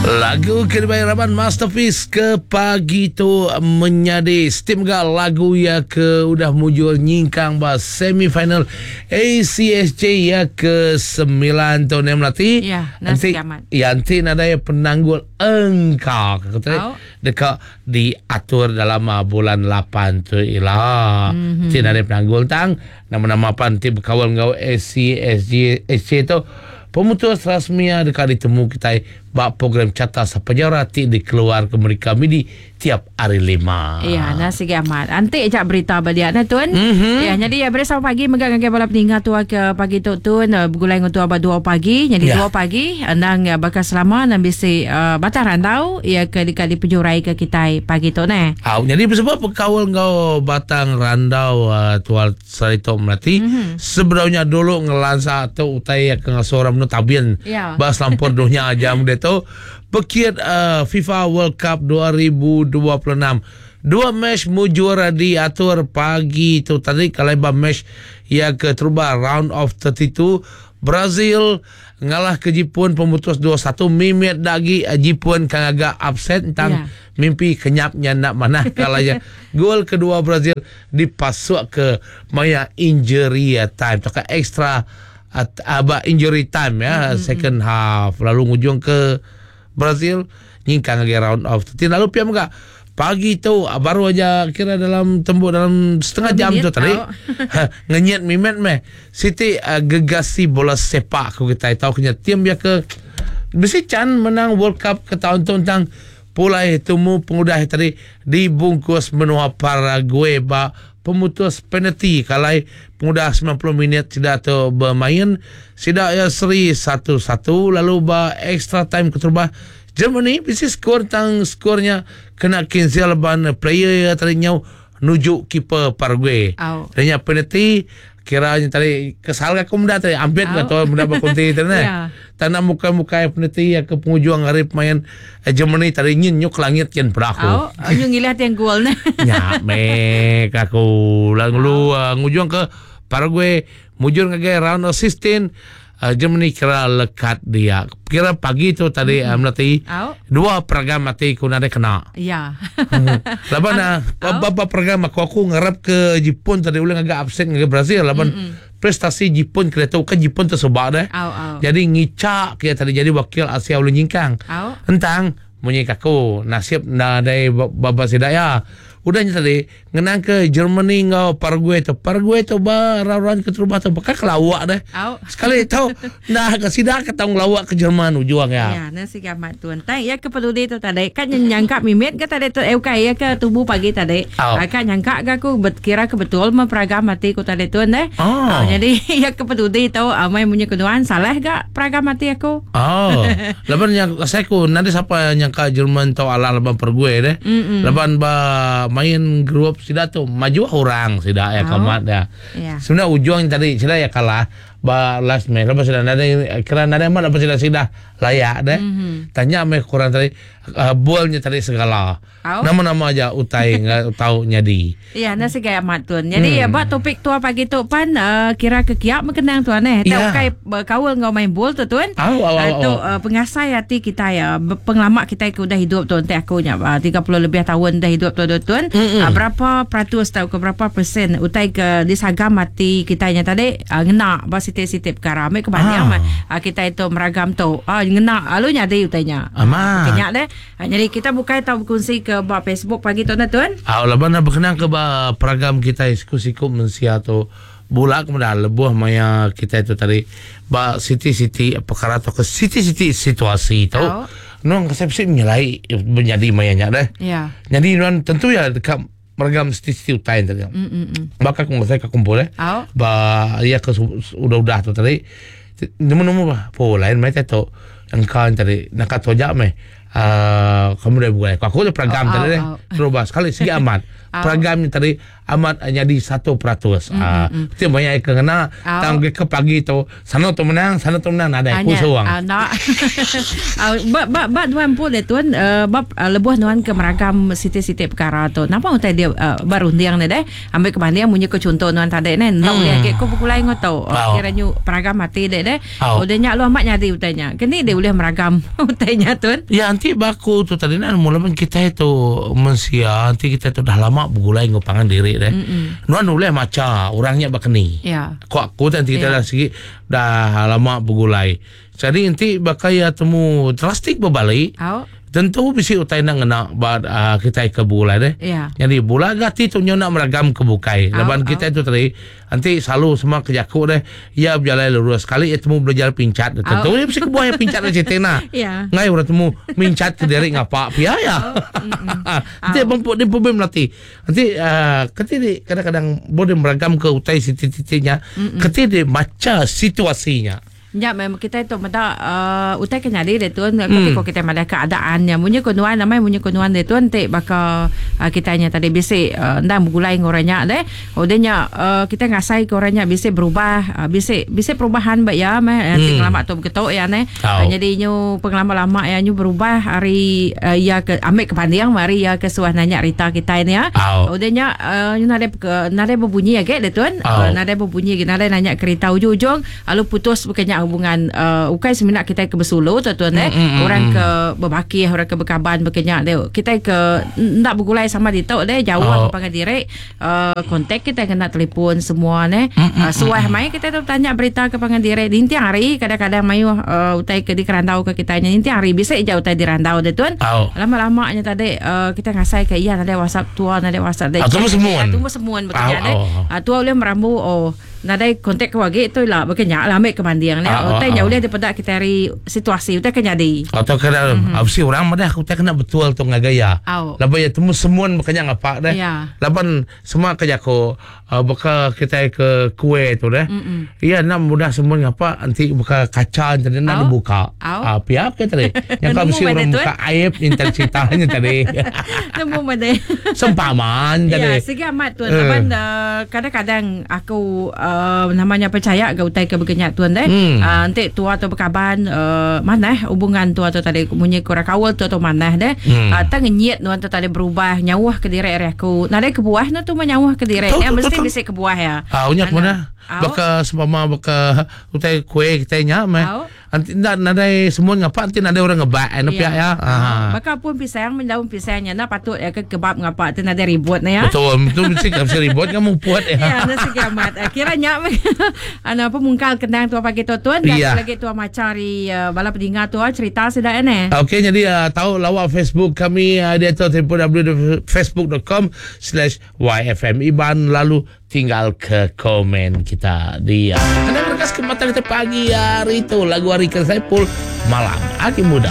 Lagu ke dibai raban Masterpiece ke pagi tu menyadi steam ga lagu iya ke udah mujur nyingkang ba semifinal ACSJ iya ke 9 tu ne melati. Ya, nasi amat. Ya enti nadai penanggul engka ke tadi deka diatur dalam ah, bulan 8 tu ila. Mm-hmm. Enti nadai penanggul tang nama-nama pan ti bekaul enggau ACSJ SC tu Pemutus rasmi iya deka ditemu kitai ba program Carta Sapajara ti dikeluarka Merika Midi tiap Hari Lima. Ya, nah sigi amat. Anti aja berita ba dia nah tun. Mm-hmm. Ya, nyadi ya beri selamat pagi mega ngagai bala peninga tua ke pagi tu tun eh, begulai enggau tua ba 2 pagi. Nyadi 2 pagi endang eh, baka selama nang bisi uh, batang randau ya ke deka dipejurai ke kitai pagi tu neh. Au, nyadi sebab bekaul enggau batang randau uh, tua Sehari tu melati mm-hmm. Sebedau nya dulu ngelansa tu utai ke ngasuh orang menu tabin yeah. Ba selampur dunia jam dia tu Pekit uh, FIFA World Cup 2026 Dua match mujur diatur pagi tu tadi Kalau ba match yang keterubah round of 32 Brazil ngalah ke Jipun pemutus 2-1 mimit dagi Jipun kan agak upset tentang yeah. mimpi kenyapnya nak manah kalau ya gol kedua Brazil dipasuk ke maya injury time tauka extra aba injury time ya mm-hmm. second half lalu ngujung ke Brazil nyingkang lagi round of 13 lalu pia mega pagi tu baru aja kira dalam tembuk dalam setengah jam tu tadi ngenyit mimet meh siti uh, gegasi bola sepak aku kita tahu kena tim dia ke bisi chan menang World Cup ke tahun tu tentang Pulai tumu pengudah tadi dibungkus menua Paraguay ba pemutus penalti kalai pengudah 90 minit sida tu bemain sida iya seri satu-satu lalu ba extra time keterubah Germany bisi skor tang skor nya kena cancel laban player iya tadi nyau nuju keeper Paraguay. Nya penalti Kira nya tadi kesal ga aku meda tadi ampit ga tu meda ba kunti tadi neh. Yeah. Tak nak mukai-mukai penalti ya ke pengujung hari pemain eh, Germany tadi nyin nyuk langit kin peda aku. Oh, nyu ngilah tiang gol neh. Nya mek aku lalu uh, ngujung ke Paraguay mujur ngagai round of 16 uh, Germany kira lekat dia. Kira pagi tu tadi mm-hmm. melati dua peragam mati ku nadai kena. Ya. Laban uh, beberapa peragam aku aku ngarap ke Jepun tadi ulih ngaga upset ngagai Brazil laban mm-hmm. prestasi Jepun kira tu kan Jepun tersobak deh. Au, au. Jadi ngicak kia tadi jadi wakil Asia ulih nyingkang. Au. Entang munyi kaku nasib nadai baba sida ya. Udah nya tadi Ngenang ke Germany enggau Paraguay tu. Paraguay tu ba round-round keterubah tu baka ke lawak deh. Au. Sekali tu nah ke sida ke tau ngelawak ke Jerman ujung ya. Ya, nah sigi amat tuan. Tai ya ke peduli tu tadi kan nyangka mimit ke tadi tu eh ukai ya ke tubuh pagi tadi. Au. Ah, kan nyangka ga aku bet, kira ke betul mah peragam ati ku tadi tuan deh. Oh. Ah, jadi ya ke peduli tu amai munyi ke nuan salah ga peragam ati aku. Oh, laban yang saya ku nanti siapa nyangka Jerman tau alah laban Paraguay deh. Mm-mm. Laban ba main grup sida tu maju orang sida ya Oh. kamat ya. Ya. Sebenarnya ujung tadi sida ya kalah ba last match laban sida nadai kira nadai amat laban sida sida layak deh. Mm-hmm. Tanya meh kurang tadi uh, bolnya tadi segala. Au. Nama-nama aja utai enggau tau nyadi. Ya, enda sigai amat tun. Jadi hmm. ba topik tua pagi tu pan uh, kira ke kiak mekenang tuan eh. Tak Ya. ukai bekaul enggau main bol tu tun. Au, au, au, tu au. uh, pengasai hati kita ya pengelama kita ke udah hidup tu enti aku nya uh, 30 lebih tahun dah hidup tu tun. Uh, berapa peratus tau ke berapa persen utai ke disagam hati kita nya tadi uh, ngena ba siti-siti perkara. Ambil ke banding Ah. uh, kita itu meragam tu. Uh, ngena lalu nyadi utai nya. Amat. Kenya deh. Ha, nyadi kita bukai tau bekunsi ke ba Facebook pagi tu nah tuan. Au laban bekenang ke ba peragam kitai siku-siku mensia tu bula ke meda lebuh maya kitai tu tadi ba siti-siti perkara tauka siti-siti situasi tu Au. nuan ke sip-sip nyelai menyadi maya nya deh. Ya. Nyadi nuan tentu ya deka meragam siti-siti utai tadi. Mm-mm. Baka aku ngasai ke kumpul eh. Au. Ba iya ke udah-udah tu tadi nemu-nemu bah po lain meh tu engka tadi naka tu aja meh uh, kamu dah buat aku tu peragam Oh, tadi au, deh au. terubah sekali sigi amat Au. peragam ni tadi. amat nyadi 1%. Ah, ti maya ke ngena tang ke pagi tu sana tu menang, sana tu menang nadai ku suang. Enda. Ba ba ba nuan empu deh tuan ba lebuh nuan ke meragam siti-siti perkara tu. Napa utai dia ba runding ne deh? Ambi ke banding munyi ko chunto nuan tadi neh enda ulih agi ko begulai enggau tu. Kira nyu peragam ati deh deh. Udah nya lalu amat nyadi utai nya. Keni deh ulih meragam utai nya tun? Ya enti ba aku tu tadi neh mula men kitai tu mensia enti kitai tu dah lama begulai enggau pangan diri deh. Nuan ulih macha orang nya baka ni. Ku aku tu enti kitai dah sigi dah lama begulai. Jadi enti baka iya temu drastik bebali tentu bisi utai enda ngena ba uh, kitai ke begulai deh. Yeah. Jadi bula ga ati tu nyu nak meragam ke bukai. Au, Laban kitai tu tadi enti selalu sema ke jaku deh iya bejalai lurus sekali iya temu belajar pincat tentu iya bisi kebuah iya pincat deh siti nah. Yeah. Ngai orang temu mincat ke diri ngapa pia ya. Enti bempu di pebim lati. Enti uh, keti di kadang-kadang boleh meragam ke utai siti-siti nya, keti di maca situasinya. Nya meh kitai tu meda uhh utai ke nyadi ditu kati ko kitai madah keadaan nya munyi ko nuan amai munyi ko nuan ditu enti baka uhh kitai nya tadi bisi uhh endang begulai enggau orang nya deh udah nya uhh kitai ngasai ke orang nya bisi berubah uhh bisi bisi perubahan ba iya meh enti ngelama tu begitu iya neh nyadi nyu pengelama lama iya nyu berubah ari uhh iya ke ambi ke banding meh ari iya ke suah nanya rita kitai ne udah nya uhh nadai nadai bebunyi agi ditu nadai bebunyi agi nadai nanya kerita ujung ujung Lalu putus baka nya hubungan uh, ukai semina kitai ke besulu tu tuan eh mm, orang ke bebakih orang ke bekaban baka nya deh kitai ke enda begulai sama ditu deh jauh oh. pangan diri uh, kontak kitai kena telefon semua neh mm, uh, suah mai kitai tu tanya berita ke pangan diri ninting hari kadang-kadang mayuh uh, utai ke dikerandau ke kitai nya ninting hari bisi aja utai dirandau deh tuan oh. lama-lama nya tadi uh, kitai ngasai ke iya nadai WhatsApp tua nadai WhatsApp deh tumbuh semun tumbuh semun baka nya deh uh, tua ulih merambu oh Nadai kontak ku agi tu ila baka nya lah ambi ke banding nya. Utai nya ulih dipeda kitai ari situasi utai ke nyadi. Atau kena bisi orang madah utai kena betul tu ngagai iya. Laban iya temu semun baka nya ngapa deh. Laban sema ke jaku baka kitai ke kuih tu deh. Iya enda mudah semun ngapa enti baka kaca enti enda dibuka. Pia ke tadi. Nyangka bisi orang buka aib intan cerita nya tadi. Nemu madai. Sempaman tadi. Ya, sigi amat tuan. Laban kadang-kadang aku uh, nama nya percaya ga utai ke begenya tuan deh. Hmm. Uh, enti tua tu bekaban uh, manah hubungan tua tu tadi munyi ku orang kaul tu tu manah deh. Hmm. Uh, tang ngenyit nuan tu tadi berubah nyauh ke diri ari aku. Nadai kebuah nu tu menyauh ke diri. Ya mesti bisi kebuah ya. Ah, uh, nya mana? Baka sempama baka utai kuih kitai nya meh. Enti enda nadai semut ngapa enti nadai orang ngebak anu pia ya. Ha. Baka pun pisang men daun pisang nya enda patut ya ke kebab ngapa ti nadai ribut ne ya. Betul, betul mesti mesti ribut kan muput ya. Ya, enda sigi amat. Kira nya meh anu apa mungkal kenang tua pagi tu tuan dan ya. lagi tua macha ari uh, bala peninga tua cerita sida ya ne. Okey jadi uh, tahu lawak Facebook kami uh, di atas www.facebook.com slash YFM Iban lalu Tinggal ke komen kita dia. Kena berkas ke mata kita pagi hari tu lagu hari ke Saipul malam agi muda.